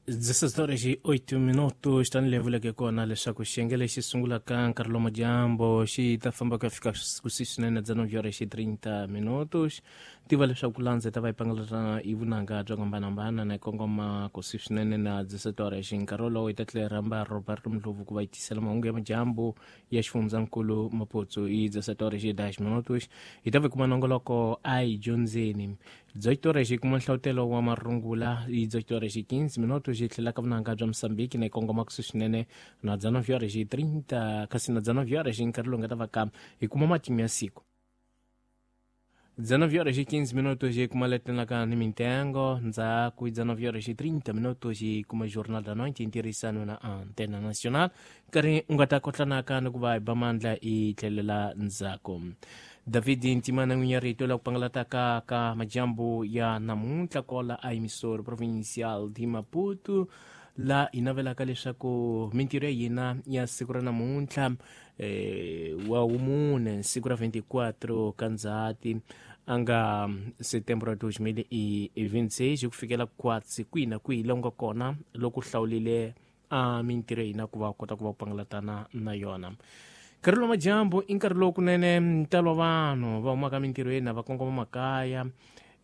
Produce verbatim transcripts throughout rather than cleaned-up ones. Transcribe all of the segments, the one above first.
dezesseis horas e oito minutos tanihi vuleke kona leswaku xiyenge lexi sungulaka nkarhi lomu dyambu xi ta famba ku ya fika kusuhi swinene dezenove horas e trinta minutos. Tiva leswaku landza ta va yi pangalata hi vunanga byo hambanahambana na yi kongoma kusuhi swinene na dezessete horas. Nkarhi wolowo hi ta tlhela hi rhamba Roberto Ndlovu ku va yi tisela mahungu ya madyambu ya xifundzankulu Maputo hi dezessete horas e dez minutos. Hi ta va kuma nongoloko a hi dyondzeni dezoito horas hi kuma nhlawutelo wa marungula hi dezoito horas e quinze minutos. Hi tlhela ka vunanga bya Mosambiki na yi kongoma kusuhi swinene na dezenove horas e trinta kasi na dezenove horas nkarhi lowu nga ta va ka hi kuma matimu ya siku. dezenove horas e quinze minutos hi kuma letelaka ni mintengo ndzhaku hi dezenove horas e trinta minutos hi kuma Jornal da Noite hi ntirhisano na Antena Nacional nkarhi u nga ta kotlanaka ni ku va hi ba mandla hi tlhelela ndzhaku. David Ntimana n'winyi ya rito la ku pangalataka ka majambu ya namuntlha kola a emissora provincial de Maputo la hi navelaka leswaku mintirho ya hina ya siku ra namuntlha eh, wa wumune siku ra vinte e quatro ka Ndzhati a nga setembro dois mil e vinte e seis ku fikela kwatsi kwihi na kwihi la u nga kona loko u hlawulile a mintirho ya hina ku va u kota ku va u pangalatana na yona. Nkarhi lowu madyambu i nkarhi lowu kunene ntalo wa vanhu va humaka mintirhweni va kongoma makaya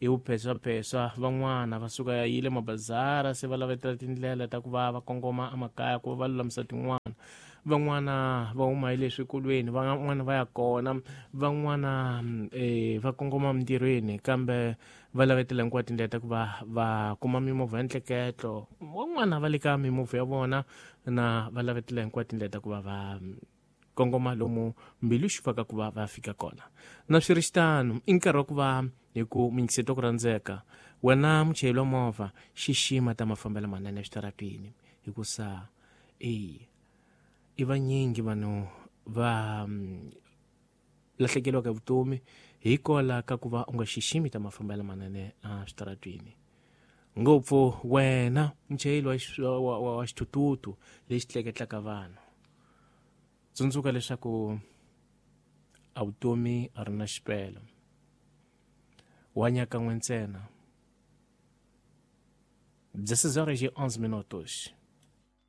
hi vupheswapheswa, van'wana va suka yile mabazara se va lavetela tindlela ta ku va va kongoma emakaya ku va va lulamisa tin'wana, van'wana va huma hi le swikolweni, van'wana va ya kona, van'wana eh, va kongoma mintirhweni kambe va lavetela hinkwato tindlela ta ku va va kuma mimovha ya ntleketlo, van'wana va le ka mimovha ya vona na va lavetela hinkwato tindlela ta ku va va kongoma lomu mbilu xi faka ku va va fika kona. Na swi ri xitano i nkarhi wa ku va hi ku minyikiseto ku rhandzeka wena muchayeri wa movha xixima ta mafambelo manene eswitarateni hikusa e i vanyingi vanhu va mm, lahlekeriwaka hi vutomi hikola ka ku va u nga xiximi ta mafambelo manene eswitarateni, ngopfu wena muchayeri wa, wa, wa, wa xithuthuthu lexi tleketlaka vanhu. Tsundzuka leswaku a vutomi a ri na xipelo, wa nyakan'we ntsena. dezesseis horas e onze minutos.